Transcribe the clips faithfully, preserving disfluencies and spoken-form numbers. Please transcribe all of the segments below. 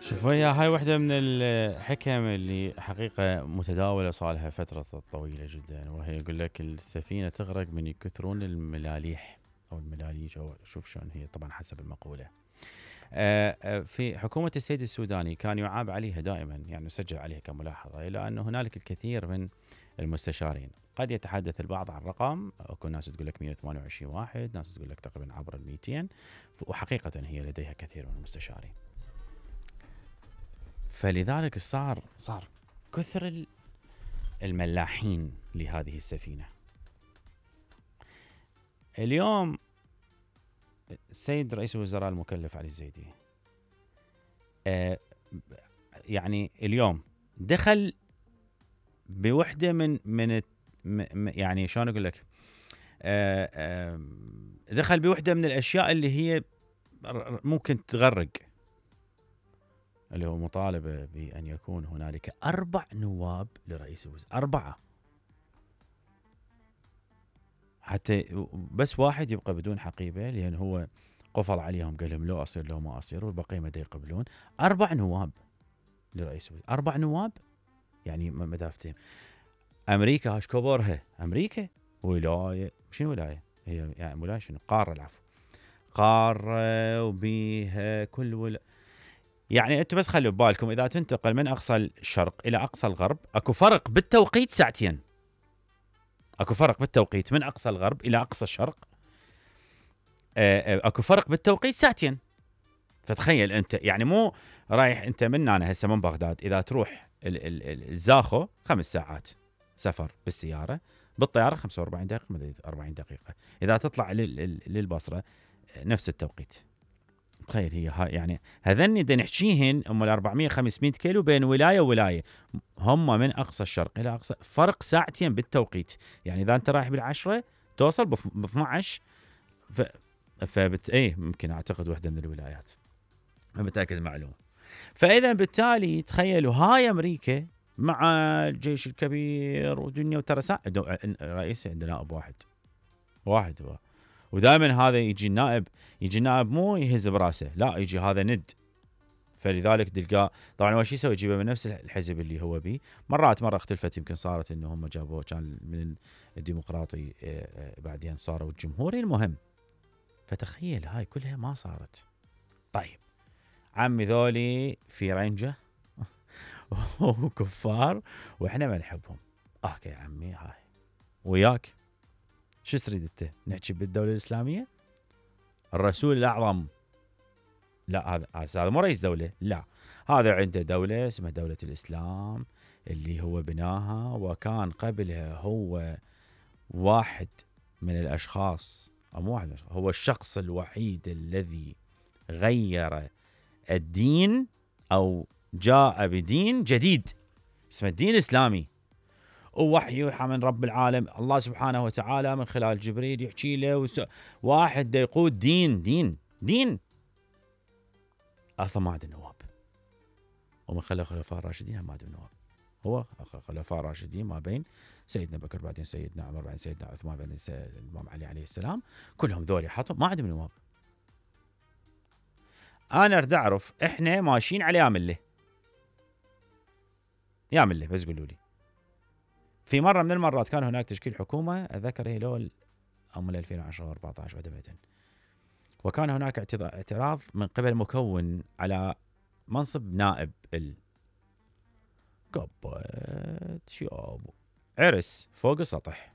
شوف هي هاي واحدة من الحكم اللي حقيقة متداولة صالها فترة طويلة جدا، وهي يقول لك السفينة تغرق من يكثرون الملاليح أو الملاليج، أو شوف شلون هي طبعا حسب المقولة. في حكومة السيد السوداني كان يعاب عليها دائما، يعني يسجل عليها كملاحظة، إلى أن هنالك الكثير من المستشارين. قد يتحدث البعض عن رقم، اكو ناس تقول لك مئة وثمانية وعشرين واحد، ناس تقول لك تقريبا عبر ال مئتين، وحقيقة هي لديها كثير من المستشارين. فلذلك صار صار كثر الملاحين لهذه السفينة. اليوم السيد رئيس الوزراء المكلف علي الزيدي آه يعني اليوم دخل بوحدة من من يعني شلون اقول لك آه آه دخل بوحدة من الاشياء اللي هي ممكن تغرق، اللي هو مطالبة بأن يكون هنالك أربع نواب لرئيس الوزراء، أربعة، حتى بس واحد يبقى بدون حقيبة، لأن هو قفل عليهم قال لهم لو أصير لو ما أصير، والبقية ما يقبلون. أربع نواب لرئيس الوزراء، أربع نواب، يعني مدافتهم. أمريكا هاش كبرها، أمريكا ولاية، شنو ولاية؟ هي يعني ولاية شنو؟ قارة، العفو، قارة وبيها كل ولا، يعني انتم بس خلوا ببالكم اذا تنتقل من اقصى الشرق الى اقصى الغرب اكو فرق بالتوقيت ساعتين، اكو فرق بالتوقيت من اقصى الغرب الى اقصى الشرق، اكو فرق بالتوقيت ساعتين. فتخيل انت، يعني مو رايح انت من هنا هسه من بغداد، اذا تروح الزاخو خمس ساعات سفر بالسياره، بالطياره خمسة وأربعين دقيقه، أربعين دقيقه، اذا تطلع للبصره نفس التوقيت. تخيل هي ها، يعني هذني دا نحكيهن ام ال أربعمئة خمسمئة كيلو بين ولايه وولايه، هم من اقصى الشرق الى اقصى، فرق ساعتين بالتوقيت. يعني اذا انت رايح بالعشرة توصل ب اثنعش، ف فبت ايه ممكن اعتقد وحده من الولايات، ما متاكد المعلومه. فاذا بالتالي تخيلوا هاي امريكا مع الجيش الكبير ودنيا، وترى رئيس عندنا نائب واحد واحد هو، ودائما هذا يجي النائب، يجي النائب مو يهز براسه، لا يجي هذا ند. فلذلك تلقاه طبعا اول شيء يسوي يجيبه من نفس الحزب اللي هو بيه. مرات مره اختلفت، يمكن صارت انه هم جابوه كان من الديمقراطي بعدين صاروا الجمهوري، المهم. فتخيل هاي كلها ما صارت. طيب عمي ذولي في رنجه وكفار واحنا ما نحبهم، اوكي عمي هاي وياك، شو تريد انت؟ نحكي بالدوله الاسلاميه؟ الرسول الاعظم، لا هذا هذا مو رئيس دوله، لا هذا عنده دوله اسمها دوله الاسلام اللي هو بناها، وكان قبلها هو واحد من الاشخاص، او مو واحد، هو الشخص الوحيد الذي غير الدين او جاء بدين جديد اسمه الدين الاسلامي، ووحي يوحى من رب العالم الله سبحانه وتعالى من خلال جبريل يحكي له، واحد دا يقود دين دين دين اصلا ما عنده نواب، ومن خلال الخلفاء الراشدين ما عنده نواب. هو خلفاء راشدين ما بين سيدنا بكر، بعدين سيدنا عمر، بعدين سيدنا عثمان، بعدين الامام علي عليه السلام، كلهم ذولي حطوا ما عندهم نواب. انا اريد اعرف احنا ماشيين على يا مله يا مله، بس قولوا لي. في مره من المرات كان هناك تشكيل حكومه، اذكر هي لول ام ألفين وعشرة أربعة عشر عدمه، وكان هناك اعتراض من قبل مكون على منصب نائب ال قبت شيابو عرس فوق السطح.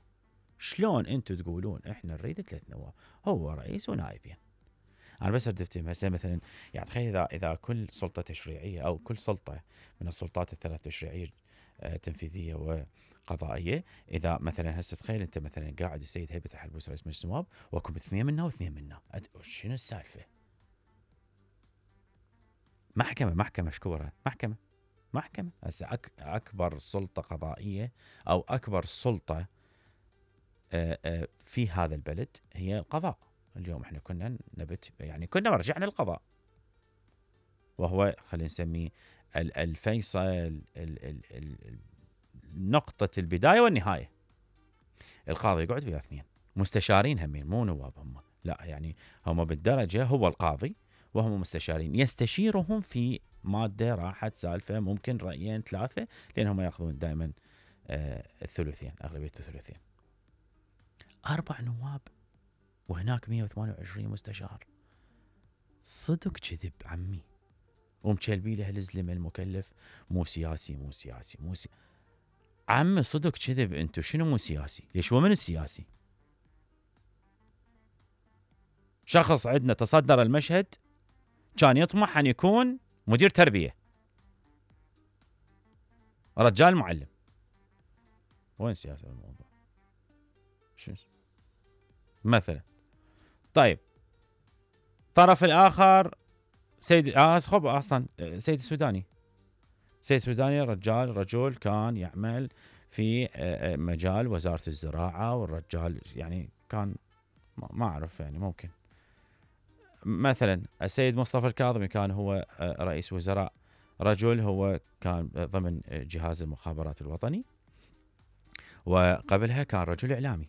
شلون انتم تقولون احنا نريد ثلاث نواب، هو رئيس ونائبين؟ انا بس اريد افتهم هسه مثلا، يعني تخيل اذا اذا كل سلطه تشريعيه او كل سلطه من السلطات الثلاث تشريعيه تنفيذيه وقضائيه، اذا مثلا هسه تخيل انت مثلا قاعد السيد هيبه الحلبوس رئيس مجلس النواب، واكو اثنين منا واثنين منا، شنو السالفه؟ محكمه محكمه شكورها محكمه محكمه هسه أك اكبر سلطه قضائيه او اكبر سلطه في هذا البلد هي القضاء. اليوم احنا كنا نبت يعني كنا مرجعنا للقضاء، وهو خلينا نسميه الفيصل، نقطة البداية والنهاية. القاضي يقعد ويا اثنين مستشارين همين، مو نواب هم، لا يعني هم بالدرجة، هو القاضي وهم مستشارين يستشيرهم في ماده راحت سالفه ممكن رايين ثلاثه، لانهم ياخذون دائما آه الثلثين، اغلبيه الثلثين. اربع نواب وهناك مئة وثمانية وعشرين مستشار. صدق كذب عمي، ومشلبي له الزلمه المكلف مو سياسي مو سياسي مو سياسي. عمي صدق كذب، انتو شنو مو سياسي؟ ليش هو من السياسي؟ شخص عندنا تصدر المشهد كان يطمح ان يكون مدير تربيه، رجال معلم، وين سياسه الموضوع؟ شو مثلا؟ طيب الطرف الاخر سيد آه خب اصلا سيد السوداني، سيد السوداني رجال رجل كان يعمل في مجال وزاره الزراعه، والرجال يعني كان ما اعرف يعني ممكن. مثلا السيد مصطفى الكاظمي كان هو رئيس وزراء، رجل هو كان ضمن جهاز المخابرات الوطني، وقبلها كان رجل اعلامي.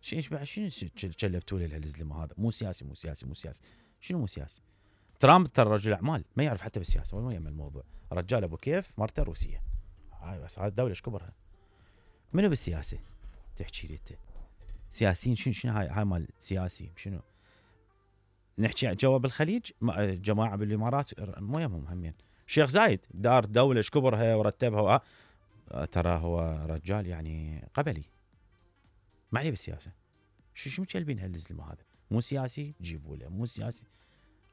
شنو بعد شنو شلبتوا لي الزلمه هذا؟ مو سياسي مو سياسي مو سياسي. شنو مو سياسي؟ ترامب ترى رجل اعمال ما يعرف حتى بالسياسه ولا يهم الموضوع، رجال ابو كيف، مرته روسيه، هاي بس هاي الدوله ايش كبرها؟ منو بالسياسه؟ تحكي لي انت سياسيين شنو شنو هاي هاي مال سياسي شنو؟ نحكي جوا بالخليج جماعه بالامارات مو يهمهم همين. الشيخ زايد دار دوله ايش كبرها ورتبها، ترى هو رجال يعني قبلي، ما عليه بالسياسه. شو شو مكلبين هالزلمه هذا؟ مو سياسي جيبوا له، مو سياسي.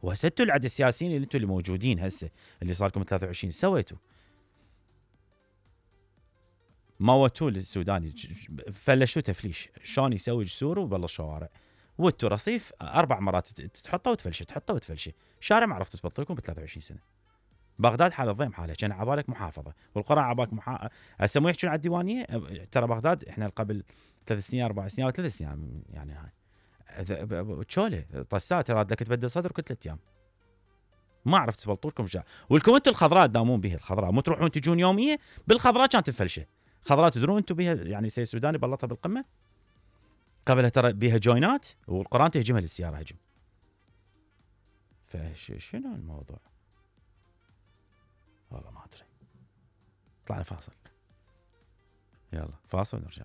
وهسه انتوا العد السياسيين اللي انتوا اللي موجودين هسه اللي صار لكم ثلاثة وعشرين سويتوا موتوا للسوداني، فلشوا تفليش شلون يسوي جسور وبالله الشوارع، وانتوا رصيف اربع مرات تحطه وتفلشه تحطه وتفلشه، شارع ما عرفت تبطل لكم ب ثلاثة وعشرين سنه. بغداد حاله ضيم حاله، كان عبالك محافظه والقرى عبالك محا... هسه مو يحكون على الديوانيه. ترى بغداد احنا قبل ثلاث سنين اربع سنين او ثلاث سنين يعني هاي تشوله طسات ترى بدك تبدل صدر كل ثلاث ايام، ما عرفت تبلطوا لكم شيء. ولكم انتم الخضراء تداومون بها، الخضراء مو تروحون تجون يوميه بالخضراء كانت تفلشه. خضراء تدرون انتم بها يعني سيد السوداني بلطها بالقمه قبلها ترى بها جوينات والقران تهجمها للسياره هجم. فشنو الموضوع؟ والله ما ادري. طلعنا فاصل، يلا فاصل ونرجع.